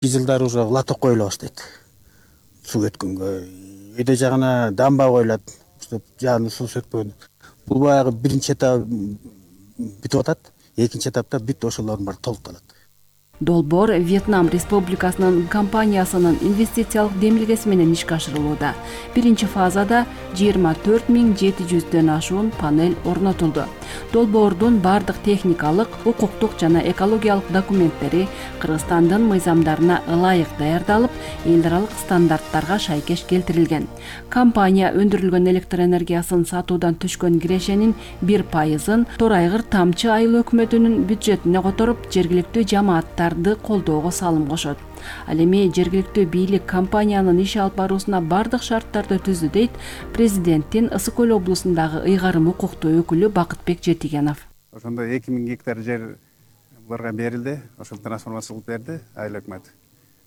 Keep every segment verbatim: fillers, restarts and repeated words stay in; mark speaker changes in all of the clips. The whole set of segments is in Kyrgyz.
Speaker 1: Жылдары уже лоток коюла баштайт. Суу өткөнгө эде жагына дамба коюлат, чтобы жаңы суу сөкпөгөн. Бул баягы биринчи этап бүтүп атат, экинчи этапта бүт ошолордун баары толукталат.
Speaker 2: Долбоор Вьетнам Республикасынын компаниясынын инвестициялык демилгеси менен ишке ашырылууда. Биринчи фазада жыйырма төрт миң жети жүздөн ашуун панель орнотулду. Долбоордун бардык техникалык, укуктук жана экологиялык документтери Кыргызстандын мыйзамдарына ылайык даярдалып, эл аралык стандарттарга шайкеш келтирилген. Компания өндүрүлгөн электр энергиясын сатуудан түшкөн кирешенин бир пайызын Торайгыр Тамчы айыл өкмөтүнүн бюджетине которуп, жергиликтүү жамааттарды колдоого салым кошот. Ал эми жергиликтүү бийлик компаниянын иш алып баруусуна бардык шарттарды түздү дейт президенттин Ысык Көл облусундагы ыйгарым укуктуу өкүлү Бакытбек Жетигенов.
Speaker 3: Ошондо эки миң гектар жер буларга берилди, ошол трансформация кылып берди айыл өкмөт.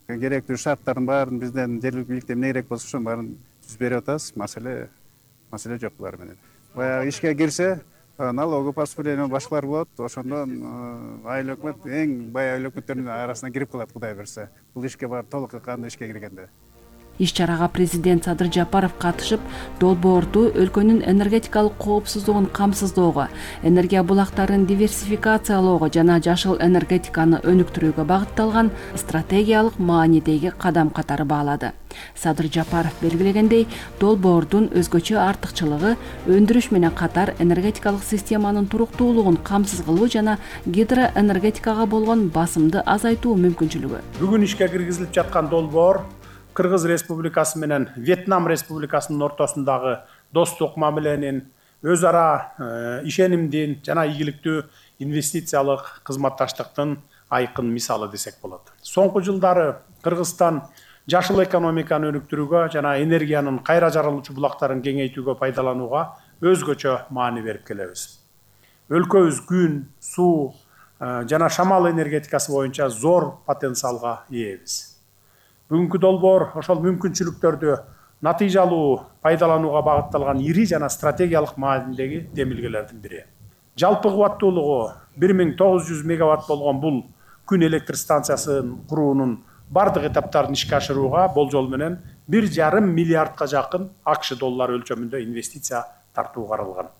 Speaker 3: Керектүү шарттардын баарын бизден жергиликтүү бийликтен эмне керек болсо ошонун баарын түзүп берип атабыз. Маселе маселе жок булар менен. Баягы ишке кирсе, налоговый поступление башкалар болот, ошондон айыл өкмөт эң бай айыл өкмөттөрдүн арасына кирип калат, Кудай берсе. Бул ишке барып толук кандай ишке киргенде.
Speaker 2: Иш-чарага президент Садыр Жапаров катышып, долбоорду өлкөнүн энергетикалык коопсуздугун камсыздоого, энергия булактарын диверсификациялоого жана жашыл энергетиканы өнүктүрүүгө багытталган стратегиялык маанидеги кадам катары баалады. Садыр Жапаров белгилегендей, долбоордун өзгөчө артыкчылыгы өндүрүш менен катар энергетикалык системанын туруктуулугун камсыз кылуу жана гидроэнергетикага болгон басымды азайтуу мүмкүнчүлүгү.
Speaker 4: Бүгүн ишке киргизилип жаткан долбоор Кыргыз Республикасы менен Вьетнам Республикасынын ортосундагы достук мамиленин, өз ара ишенимдин жана ийгиликтүү инвестициялык кызматташтыктын айкын мисалы десек болот. Соңку жылдары Кыргызстан жашыл экономиканы өнүктүрүүгө жана энергиянын кайра жарылуучу булактарын кеңейтүүгө пайдаланууга өзгөчө маани берип келебиз. Өлкөбүз күн, суу жана шамал энергетикасы боюнча зор потенциалга ээбиз. Бүгүнкү долбоор ошол мүмкүнчүлүктөрдү натыйжалуу пайдаланууга багытталган ири жана стратегиялык маанидеги демилгелердин бири. Жалпы кубаттуулугу бир миң тогуз жүз мегаватт болгон бул күн электр станциясын куруунун бардык этаптарын ишке ашырууга болжол менен бир жарым миллиардка жакын АКШ доллары өлчөмүндө инвестиция тартуу каралган.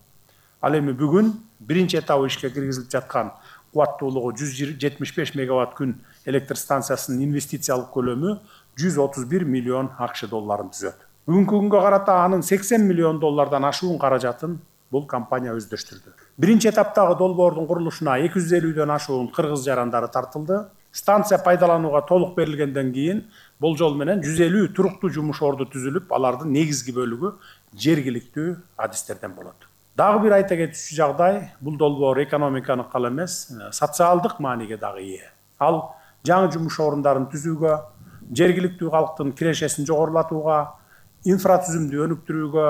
Speaker 4: Ал эми бүгүн биринчи этабы ишке киргизилип жаткан кубаттуулугу жүз жетимиш беш мегаватт күн электр станциясынын инвестициялык көлөмү жүз отуз бир миллион АКШ долларын түзөт. Бүгүнкү күнгө карата анын сексен миллион доллардан ашуун каражатын бул компания өздөштүрдү. Биринчи этаптагы долбоордун курулушуна эки жүз элүүдөн ашуун кыргыз жарандары тартылды. Станция пайдаланууга толук берилгенден кийин болжол менен жүз элүү туруктуу жумуш орду түзүлүп, алардын негизги бөлүгү жергиликтүү адистерден болот. Дагы бир айта кетүүчү жагдай, бул долбоор экономиканы гана эмес, социалдык мааниге дагы ээ. Ал жаңы жумуш орундарын түзүүгө, жергиликтүү калктын кирешесин жогорулатууга, инфратүзүмдү өнүктүрүүгө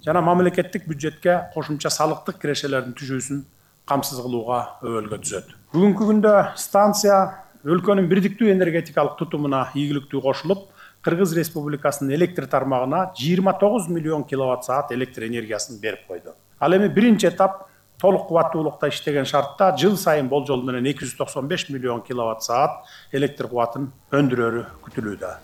Speaker 4: жана мамлекеттик бюджетке кошумча салыктык кирешелердин түшүүсүн камсыз кылууга өбөлгө түзөт. Бүгүнкү күндө станция өлкөнүн бирдиктүү энергетикалык тутумуна ийгиликтүү кошулуп, Кыргыз Республикасынын электр тармагына жыйырма тогуз миллион киловатт саат электр энергиясын берип койду. Ал эми биринчи этап толук кубаттуулукта иштеген шартта жыл сайын болжол менен эки жүз токсон беш миллион киловатт саат электр кубатын өндүрөрү күтүлүүдө.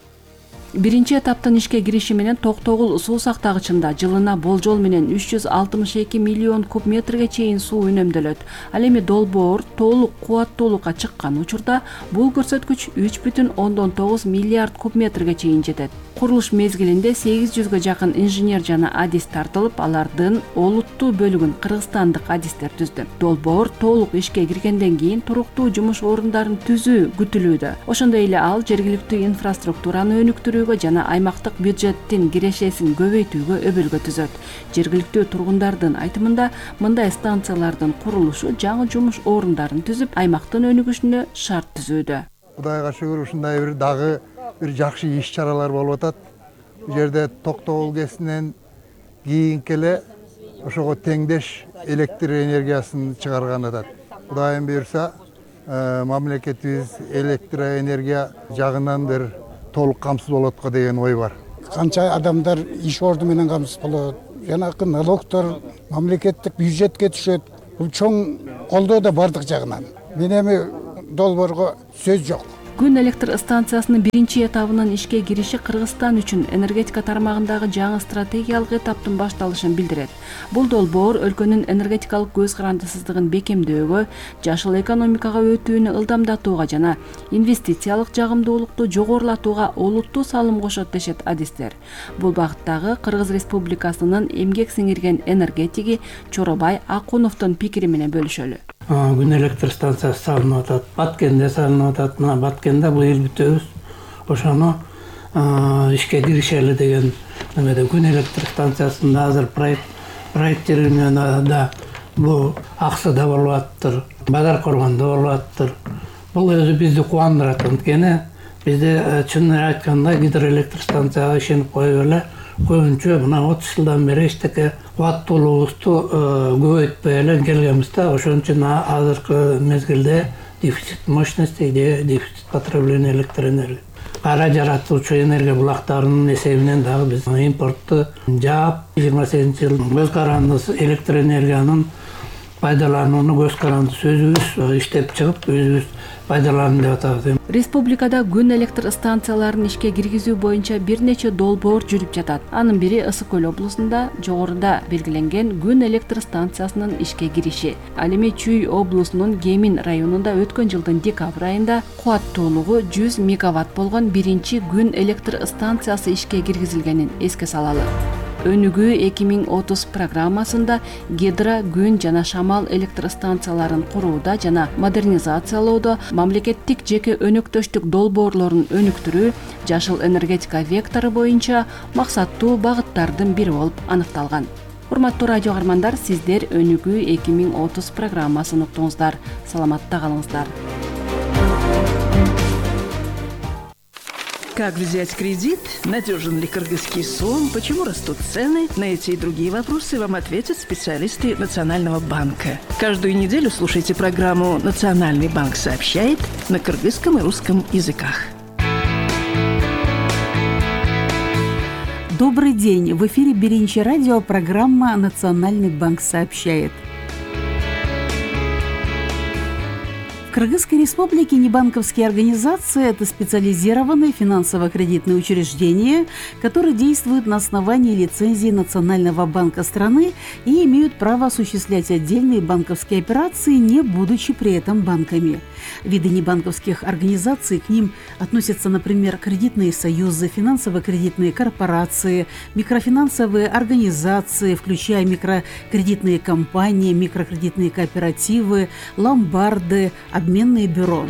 Speaker 2: Биринчи этаптын ишке кириши менен Токтогул суу сактагычында жылына болжол менен үч жүз алтымыш эки миллион куб метрге чейин суу үнөмдөлөт. Ал эми долбоор толук кубаттуулукка чыккан учурда бул көрсөткүч үч бүтүн ондон тогуз миллиард куб метрге чейин жетет. Курулуш мезгилинде сегиз жүзгө жакын инженер жана адис тартылып, алардын олуттуу бөлүгүн кыргызстандык адистер түздү. Долбоор толук ишке киргенден кийин туруктуу жумуш орундарын түзүү күтүлүүдө. Ошондой эле ал жергиликтүү инфраструктураны өнүктүрүүгө жана аймактык бюджеттин кирешесин көбөйтүүгө өбөлгө түзөт. Жергиликтүү тургундардын айтымында, мындай станциялардын курулушу жаңы жумуш орундарын түзүп, аймактын өнүгүшүнө шарт түзүүдө.
Speaker 5: Кудайга шүгүр, ушундай бир дагы бир жакшы иш-чаралар болуп атат. Бул жерде Токтогул кесинен кийинки эле ошого теңдеш электр энергиясын чыгарган атат. Кудайым буйрса, мамлекетибиз электроэнергия жагынан бир толук камсыз болот го деген ой бар.
Speaker 6: Канча адамдар иш орду менен камсыз болот. Жанакы налогтор мамлекеттик бюджетке түшөт. Бул чоң колдоо да бардык жагынан. Мен эми долбоорго сөз жок.
Speaker 2: Күн электр станциясынын биринчи этабынын ишке кириши Кыргызстан үчүн энергетика тармагындагы жаңы стратегиялык этаптын башталышын билдирет. Бул долбоор өлкөнүн энергетикалык көз карандысыздыгын бекемдөөгө, жашыл экономикага өтүүнү ылдамдатууга жана инвестициялык жагымдуулукту жогорулатууга олуттуу салым кошот дешет адистер. Бул багыттагы Кыргыз Республикасынын эмгек сиңирген энергетиги Чоробай Акуновдун пикири менен бөлүшөлү.
Speaker 7: Күн электр станциясы салынып атат, Баткенде салынып атат. Мына Баткенде быйыл бүтөбүз. Ошону ишке киришели деген немеде күн электр станциясында азыр проект проекттеринен да бул Аксыда болуп аттыр, Бадар Коргондо болуп аттыр. Бул өзү бизди кубандырат. Анткени бизде чынын айтканда гидроэлектр станцияга ишенип коюп эле көбүнчө мына отуз жылдан бери эчтеке кубаттуулугубузду көбөйтпөй эле келгенбиз да. Ошон үчүн азыркы мезгилде дефицит мощности, дефицит потребления электр энергии. Кара жаратуучу энергия булактарынын эсебинен дагы биз импортту жаап, жыйырма сегизинчи жыл көз карандысыз электр энергиянын пайдаланууну көз карандысыз өзүбүз иштеп чыгып, өзүбүз пайдаланып деп атабыз.
Speaker 2: Республикада күн электр станцияларын ишке киргизүү боюнча бир нече долбоор жүрүп жатат. Анын бири Ысык көл облусунда жогоруда белгиленген күн электр станциясынын ишке кириши. Ал эми Чүй облусунун Кемин районунда өткөн жылдын декабрь айында кубаттуулугу жүз мегаватт болгон биринчи күн электр станциясы ишке киргизилгенин эске салалы. Өнүгүү эки миң отуз программасында гидро, күн жана шамал электр станцияларын курууда жана модернизациялоодо мамлекеттик жеке өнөктөштүк долбоорлорун өнүктүрүү жашыл энергетика вектору боюнча максаттуу багыттардын бири болуп аныкталган. Урматтуу радио каармандар, сиздер Өнүгүү эки миң отуз программасын уктуңуздар. Саламатта калыңыздар.
Speaker 8: Как взять кредит? Надежен ли кыргызский сом? Почему растут цены? На эти и другие вопросы вам ответят специалисты Национального банка. Каждую неделю слушайте программу «Национальный банк сообщает» на кыргызском и русском языках.
Speaker 9: Добрый день! В эфире Биринчи радио, программа «Национальный банк сообщает». В Кыргызской республике небанковские организации – это специализированные финансово-кредитные учреждения, которые действуют на основании лицензии Национального банка страны и имеют право осуществлять отдельные банковские операции, не будучи при этом банками. Виды небанковских организаций к ним относятся, например, кредитные союзы, финансово-кредитные корпорации, микрофинансовые организации, включая микрокредитные компании, микрокредитные кооперативы, ломбарды, обменные бюро.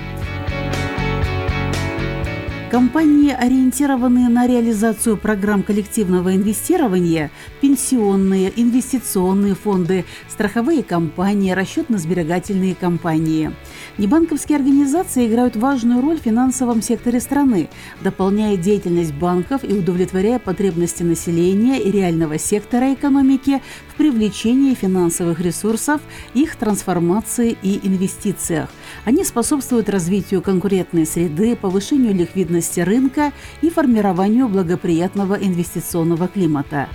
Speaker 9: Компании, ориентированные на реализацию программ коллективного инвестирования, пенсионные, инвестиционные фонды, страховые компании, расчетно-сберегательные компании. Небанковские организации играют важную роль в финансовом секторе страны, дополняя деятельность банков и удовлетворяя потребности населения и реального сектора экономики в привлечении финансовых ресурсов, их трансформации и инвестициях. Они способствуют развитию конкурентной среды, повышению ликвидности рынка и формированию благоприятного инвестиционного климата.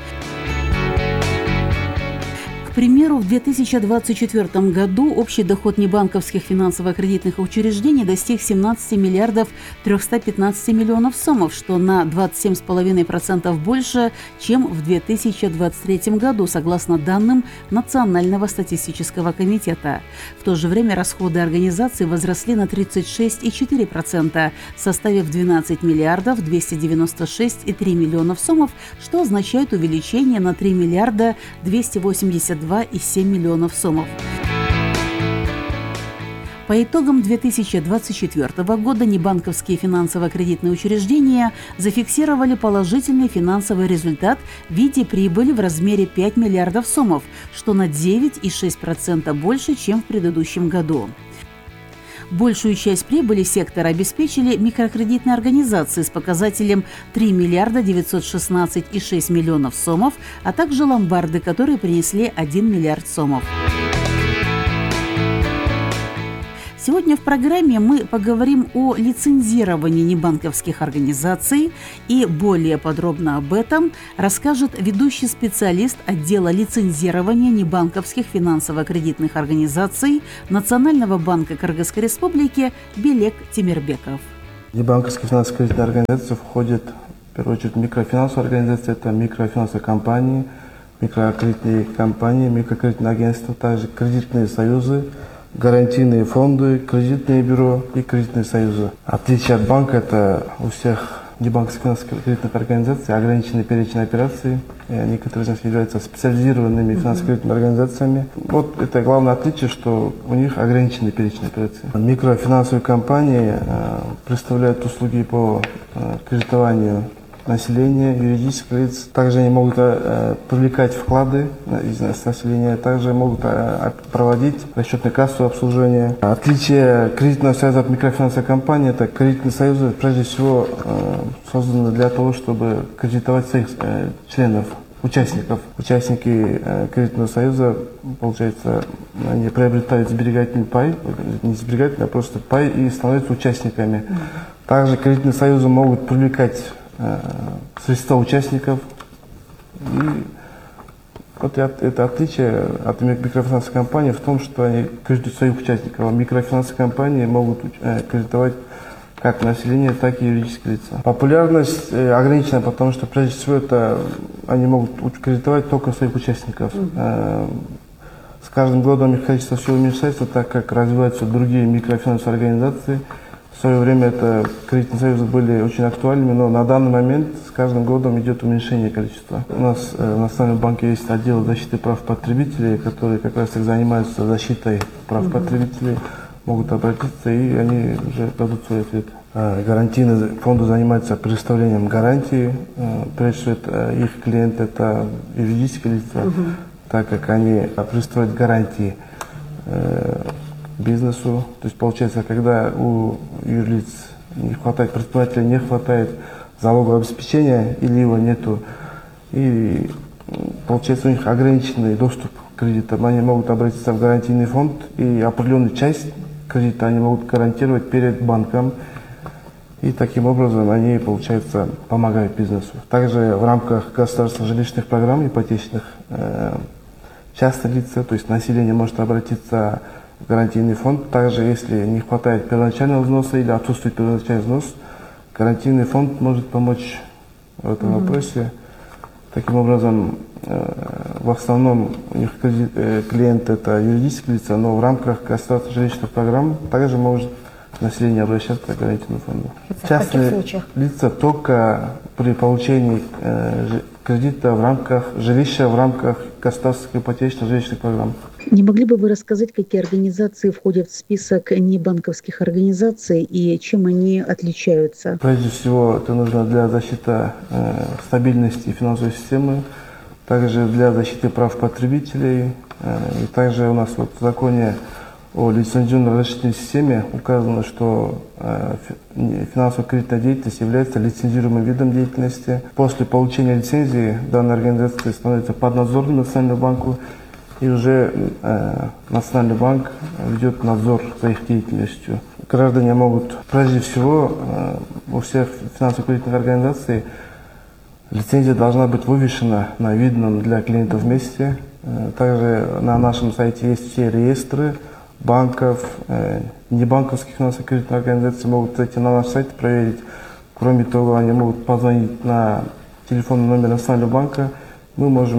Speaker 9: К примеру, в две тысячи двадцать четвёртом году общий доход небанковских финансово-кредитных учреждений достиг семнадцати миллиардов трёхсот пятнадцати миллионов сомов, что на двадцать семь целых пять десятых процента больше, чем в две тысячи двадцать третьем году, согласно данным Национального статистического комитета. В то же время расходы организаций возросли на тридцать шесть целых четыре десятых процента, составив двенадцать миллиардов двести девяносто шесть целых три десятых миллионов сомов, что означает увеличение на три миллиарда двести восемьдесят два целых семь десятых миллионов сомов. По итогам две тысячи двадцать четвёртого года небанковские финансово-кредитные учреждения зафиксировали положительный финансовый результат в виде прибыли в размере пяти миллиардов сомов, что на девять целых шесть десятых процента больше, чем в предыдущем году. Большую часть прибыли сектора обеспечили микрокредитные организации с показателем три миллиарда девятьсот шестнадцать целых шесть десятых миллионов сомов, а также ломбарды, которые принесли один миллиард сомов. Сегодня в программе мы поговорим о лицензировании небанковских организаций, и более подробно об этом расскажет ведущий специалист отдела лицензирования небанковских финансово-кредитных организаций Национального банка Кыргызской Республики Белек Тимирбеков.
Speaker 10: Небанковские финансово-кредитные организации входят в первую очередь микрофинансовые организации, это микрофинансовые компании, микрокредитные компании, микрокредитные агентства, также кредитные союзы, гарантийные фонды, кредитные бюро и кредитные союзы. Отличие от банка — это у всех небанковских финансово-кредитных организаций ограниченный перечень операций. И некоторые из них являются специализированными финансово-кредитными организациями. Вот это главное отличие, что у них ограниченный перечень операций. Микрофинансовые компании э, представляют услуги по э, кредитованию населения, юридических лиц. Также они могут э, привлекать вклады из населения, также могут э, проводить расчетно-кассовое обслуживание. Отличие кредитного союза от микрофинансовой компании — это кредитные союзы прежде всего э, созданы для того, чтобы кредитовать своих э, членов, участников. Участники э, кредитного союза, получается, они приобретают сберегательный пай, не сберегательный, а просто пай, и становятся участниками. Также кредитные союзы могут привлекать средства участников. И вот это отличие от микрофинансовой компании в том, что они кредитуют своих участников, а микрофинансовые компании могут кредитовать как население, так и юридические лица. Популярность ограничена, потому что прежде всего это они могут кредитовать только своих участников. Mm-hmm. С каждым годом их количество все уменьшается, так как развиваются другие микрофинансовые организации. В свое время это кредитные союзы были очень актуальными, но на данный момент с каждым годом идет уменьшение количества. У нас э, в Национальном банке есть отдел защиты прав потребителей, которые как раз и занимаются защитой прав mm-hmm. потребителей, могут обратиться, и они уже дадут свой ответ. Э, гарантийные фонды занимаются предоставлением гарантии. Э, прежде всего, это, их клиенты — это юридические лица, mm-hmm. так как они предоставляют гарантии э, бизнесу. То есть получается, когда у юрлиц не хватает, предпринимателя не хватает залогового обеспечения или его нету, и получается у них ограниченный доступ к кредитам, они могут обратиться в гарантийный фонд, и определенную часть кредита они могут гарантировать перед банком, и таким образом они, получается, помогают бизнесу. Также в рамках государственных жилищных программ ипотечных э, частные лица, то есть население, может обратиться гарантийный фонд. Также, если не хватает первоначального взноса или отсутствует первоначальный взнос, гарантийный фонд может помочь в этом mm-hmm. вопросе. Таким образом, в основном у них клиенты — это юридические лица, но в рамках государственных жилищных программ также может население обращаться к гарантийному фонду. Частные лица только при получении кредита в рамках жилища, в рамках государственных ипотечных жилищных программ.
Speaker 9: Не могли бы вы рассказать, какие организации входят в список небанковских организаций и чем они отличаются?
Speaker 10: Прежде всего, это нужно для защиты э, стабильности финансовой системы, также для защиты прав потребителей. Э, и также у нас вот в законе о лицензионно-разрешительной системе указано, что э, финансово-кредитная деятельность является лицензируемым видом деятельности. После получения лицензии данная организация становится поднадзорным Национальному банку, и уже э, Национальный банк ведет надзор за их деятельностью. Граждане могут, прежде всего, э, у всех финансово-кредитных организаций лицензия должна быть вывешена на видном для клиентов месте. Э, также на нашем сайте есть все реестры банков, э, небанковских финансово-кредитных организаций, могут зайти на наш сайт, проверить. Кроме того, они могут позвонить на телефонный номер Национального банка. Мы можем